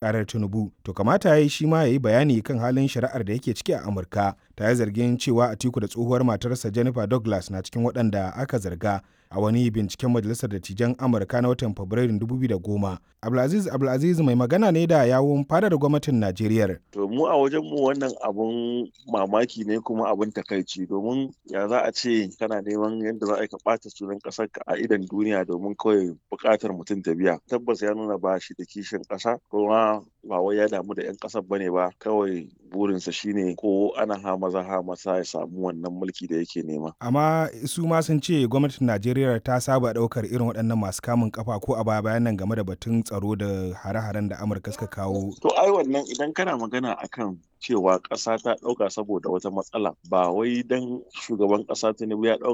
Karar Tinubu, to kamata ya yi shi ma ya yi bayani kan halin shari'ar da yake ciki a Amurka. Ta yi zargin cewa Atiku da tsohuwar matarsa Jennifer Douglas na cikin waɗanda aka zarga a wani binciken Majalisar Dattijan Amurka na watan Fabrairun 2010. Abdulaziz Abdulaziz mai magana ne da yawun fadar gwamnatin Najeriya. To mu a wajen mu wannan abun mamaki ne kuma abun takaici, domin ya za a ce kana neman yadda za a ka ɓata sunan ƙasar ka a idon duniya domin kawai buƙatar mutum ta biya. Tabbas ya nuna ba shi da kishin ƙasa, kuma ba wai ya damu da 'yan ƙasar bane ba, kawai burinsa shine ko ana ha maza ha masa ya samu wannan mulki da yake nema. Amma su ma sun ce gwamnatin Najeriya ta saba ɗaukar irin waɗannan masu kamun kafa ko a baya bayan nan game da batun tsaro da hare-haren da Amurka suka kawo. To ai wannan idan kana magana akan cewa ƙasa ta ɗauka saboda wata matsala, ba wai dan shugaban ƙasa Tinubu ya ɗauka